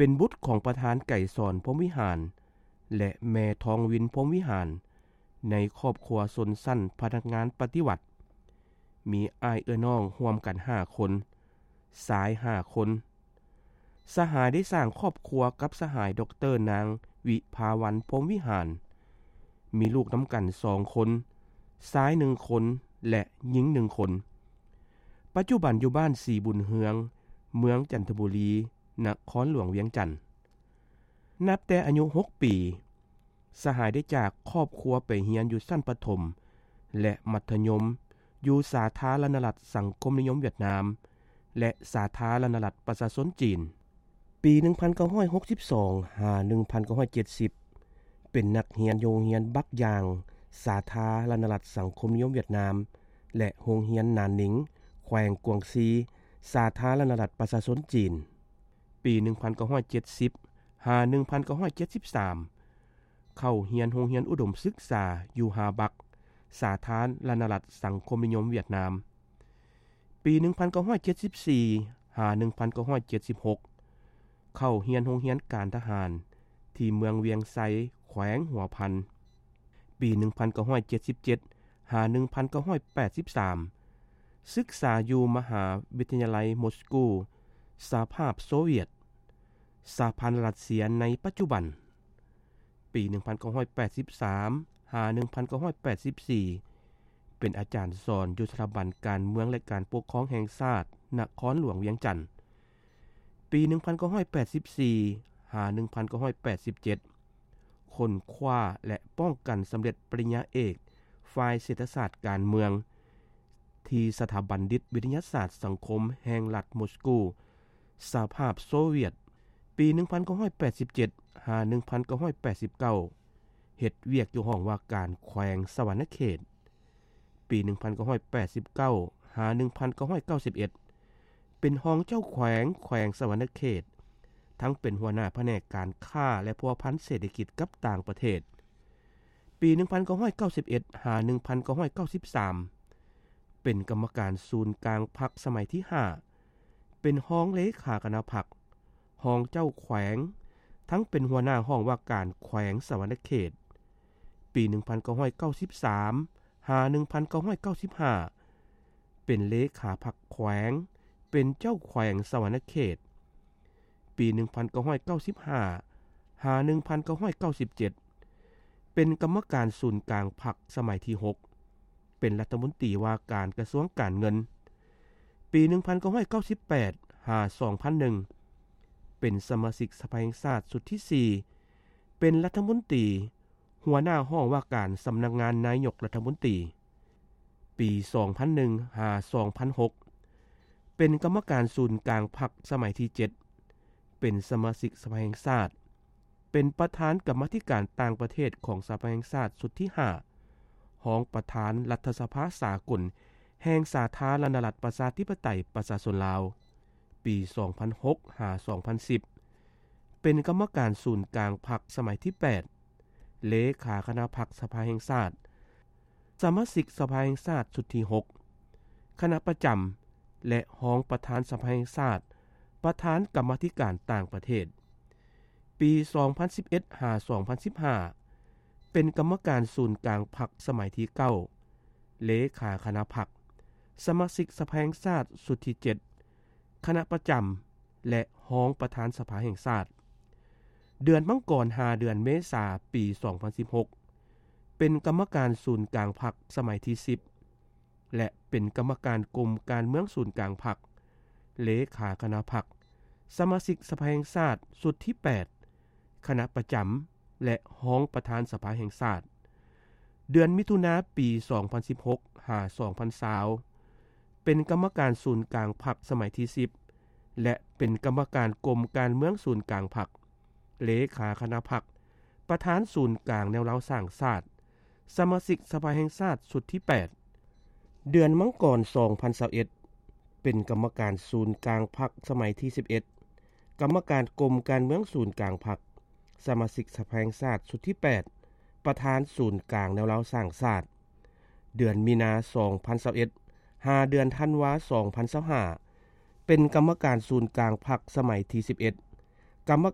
ເປັນບຸດຂອງປະທານໄກສອນ ພົມວິຫານ ແລະ ແມ່ທອງວິນ ພົມວິຫານ ໃນຄອບຄົວຊົນຊັ້ນພະນັກງານປະຕິວັດ. ມີອ້າຍເອື້ອຍນ້ອງຮ່ວມກັນຫ້າຄົນ, ຊາຍຫ້າຄົນ. ສະຫາຍໄດ້ສ້າງຄອບຄົວກັບສະຫາຍ ດອກເຕີ ນາງ ວິພາວັນ ພົມວິຫານ, ມີລູກນຳກັນສອງຄົນ, ຊາຍໜຶ່ງຄົນ ແລະ ຍິງໜຶ່ງຄົນ. ປັດຈຸບັນຢູ່ບ້ານສີບຸນເຮືອງ, ເມືອງຈັນທະບູລີ, ນະຄອນຫຼວງວຽງຈັນ. ນັບແຕ່ອາຍຸຫົກປີ, ສະຫາຍໄດ້ຈາກຄອບຄົວໄປຮຽນຢູ່ຊັ້ນປະຖົມ ແລະ ມັດທະຍົມ ຢູ່ສາທາລະນະລັດສັງຄົມນິຍົມຫວຽດນາມ ແລະ ສາທາລະນະລັດປະຊາຊົນຈີນ. ປີໜຶ່ງພັນເກົ້າຮ້ອຍຫົກສິບສອງ ຫາ ໜຶ່ງພັນເກົ້າຮ້ອຍເຈັດສິບ ເປັນນັກຮຽນຢູ່ໂຮງຮຽນບັກຢາງ ສາທາລະນະລັດສັງຄົມນິຍົມຫວຽດນາມ ແລະ ໂຮງຮຽນນານນິງ ແຂວງກວາງຊີ ສາທາລະນະລັດປະຊາຊົນຈີນ. ປີໜຶ່ງພັນເກົ້າຮ້ອຍເຈັດສິບ ຫາ ໜຶ່ງພັນເກົ້າຮ້ອຍເຈັດສິບສາມ ເຂົ້າຮຽນໂຮງຮຽນອຸດົມສຶກສາຢູ່ຮາບັກ ສາທາລະນະລັດສັງຄົມນິຍົມຫວຽດນາມ. ປີໜຶ່ງພັນເກົ້າຮ້ອຍເຈັດສິບສີ່ ຫາ ໜຶ່ງພັນເກົ້າຮ້ອຍເຈັດສິບຫົກ ເຂົ້າຮຽນໂຮງຮຽນການທະຫານທີ່ເມືອງວຽງໄຊ ແຂວງຫົວພັນ. ປີໜຶ່ງພັນເກົ້າຮ້ອຍເຈັດສິບເຈັດ ຫາ ໜຶ່ງພັນເກົ້າຮ້ອຍແປດສິບສາມ ສຶກສາຢູ່ມະຫາວິທະຍາໄລມົສກູ ສະຫະພາບໂຊວຽດ, ສະຫະພັນລັດເຊຍໃນປັດຈຸບັນ. ປີໜຶ່ງພັນເກົ້າຮ້ອຍແປດສິບສາມ ຫາ ໜຶ່ງພັນເກົ້າຮ້ອຍແປດສິບສີ່ ເປັນອາຈານສອນຢູ່ສະຖາບັນການເມືອງ ແລະ ການປົກຄອງແຫ່ງຊາດ ນະຄອນຫຼວງວຽງຈັນ. ປີໜຶ່ງພັນເກົ້າຮ້ອຍແປດສິບສີ່ ຫາ ໜຶ່ງພັນເກົ້າຮ້ອຍແປດສິບເຈັດ ຄົ້ນຄວ້າ ແລະ ປ້ອງກັນສຳເລັດປະລິນຍາເອກ ຝ່າຍເສດຖະສາດການເມືອງ ທີ່ສະຖາບັນດິດວິທະຍາສາດສັງຄົມແຫ່ງລັດມົສກູ ສະຫະພາບໂຊວຽດ. ປີໜຶ່ງພັນເກົ້າຮ້ອຍແປດສິບເຈັດ ຫາ ໜຶ່ງພັນເກົ້າຮ້ອຍແປດສິບເກົ້າ ເຮັດວຽກຢູ່ຫ້ອງວ່າການແຂວງສະຫວັນນະເຂດ. ປີໜຶ່ງພັນເກົ້າຮ້ອຍແປດສິບເກົ້າ ຫາ ໜຶ່ງພັນເກົ້າຮ້ອຍເກົ້າສິບເອັດ ເປັນຮອງເຈົ້າແຂວງແຂວງສະຫວັນນະເຂດ, ທັງເປັນຫົວໜ້າພະແນກການຄ້າ ແລະ ພົວພັນເສດຖະກິດກັບຕ່າງປະເທດ. ປີໜຶ່ງພັນເກົ້າຮ້ອຍເກົ້າສິບເອັດ ຫາ ໜຶ່ງພັນເກົ້າຮ້ອຍເກົ້າສິບສາມ ເປັນກຳມະການສູນກາງພັກສະໄໝທີຫ້າ, ເປັນຮອງເລຂາຄະນະພັກ, ຮອງເຈົ້າແຂວງ, ທັງເປັນຫົວໜ້າຫ້ອງວ່າການແຂວງສະຫວັນນະເຂດ. ປີໜຶ່ງພັນເກົ້າຮ້ອຍເກົ້າສິບສາມ ຫາ ໜຶ່ງພັນເກົ້າຮ້ອຍເກົ້າສິບຫ້າ ເປັນເລຂາພັກແຂວງ, ເປັນເຈົ້າແຂວງສະຫວັນນະເຂດ. ປີໜຶ່ງພັນເກົ້າຮ້ອຍເກົ້າສິບຫ້າ ຫາ ໜຶ່ງພັນເກົ້າຮ້ອຍເກົ້າສິບເຈັດ ເປັນກຳມະການສູນກາງພັກສະໄໝທີຫົກ, ເປັນລັດຖະມົນຕີວ່າການກະຊວງການເງິນ. ປີໜຶ່ງພັນເກົ້າຮ້ອຍເກົ້າສິບແປດ ຫາ ສອງພັນໜຶ່ງ ເປັນສະມາຊິກສະພາແຫ່ງຊາດຊຸດທີສີ່, ເປັນລັດຖະມົນຕີ, ຫົວໜ້າຫ້ອງວ່າການສຳນັກງານນາຍົກລັດຖະມົນຕີ. ປີສອງພັນໜຶ່ງ ຫາ ສອງພັນຫົກ ເປັນກຳມະການສູນກາງພັກສະໄໝທີເຈັດ, ເປັນສະມາຊິກສະພາແຫ່ງຊາດ, ເປັນປະທານກຳມາທິການຕ່າງປະເທດຂອງສະພາແຫ່ງຊາດຊຸດທີຫ້າ, ຮອງປະທານລັດຖະສະພາສາກົນແຫ່ງສາທາລະນະລັດປະຊາທິປະໄຕປະຊາຊົນລາວ. ປີສອງພັນຫົກ ຫາ ສອງພັນສິບ ເປັນກຳມະການສູນກາງພັກສະໄໝທີແປດ, ເລຂາຄະນະພັກສະພາແຫ່ງຊາດ, ສະມາຊິກສະພາແຫ່ງຊາດຊຸດທີຫົກ, ຄະນະປະຈຳ ແລະ ຮອງປະທານສະພາແຫ່ງຊາດ, ປະທານກຳມາທິການຕ່າງປະເທດ. ປີສອງພັນສິບເອັດ ຫາ ສອງພັນສິບຫ້າ ເປັນກຳມະການສູນກາງພັກສະໄໝທີເກົ້າ, ເລຂາຄະນະພັກ, ສະມາຊິກສະພາແຫ່ງຊາດຊຸດທີເຈັດ, ຄະນະປະຈຳ ແລະ ຮອງປະທານສະພາແຫ່ງຊາດ. ເດືອນມັງກອນ ຫາ ເດືອນເມສາ ປີສອງພັນສິບຫົກ ເປັນກຳມະການສູນກາງພັກສະໄໝທີສິບ ແລະ ເປັນກຳມະການກົມການເມືອງສູນກາງພັກ, ເລຂາຄະນະພັກ, ສະມາຊິກສະພາແຫ່ງຊາດຊຸດທີແປດ, ຄະນະປະຈຳ ແລະ ຮອງປະທານສະພາແຫ່ງຊາດ. ເດືອນມິຖຸນາ ປີສອງພັນສິບຫົກ ຫາ ສອງພັນຊາວ ເປັນກຳມະການສູນກາງພັກສະໄໝທີສິບ ແລະ ເປັນກຳມະການກົມການເມືອງສູນກາງພັກ, ເລຂາຄະນະພັກ, ປະທານສູນກາງແນວລາວສ້າງຊາດ, ສະມາຊິກສະພາແຫ່ງຊາດຊຸດທີແປດ. ເດືອນມັງກອນ ສອງພັນຊາວເອັດ ເປັນກຳມະການສູນກາງພັກສະໄໝທີສິບເອັດ, ກຳມະການກົມການເມືອງສູນກາງພັກ, ສະມາຊິກສະພາແຫ່ງຊາດຊຸດທີແປດ, ປະທານສູນກາງແນວລາວສ້າງຊາດ. ເດືອນມີນາ ສອງພັນຊາວເອັດ ຫາ ເດືອນທັນວາ ສອງພັນຊາວຫ້າ ເປັນກຳມະການສູນກາງພັກສະໄໝທີສິບເອັດ, ກຳມະ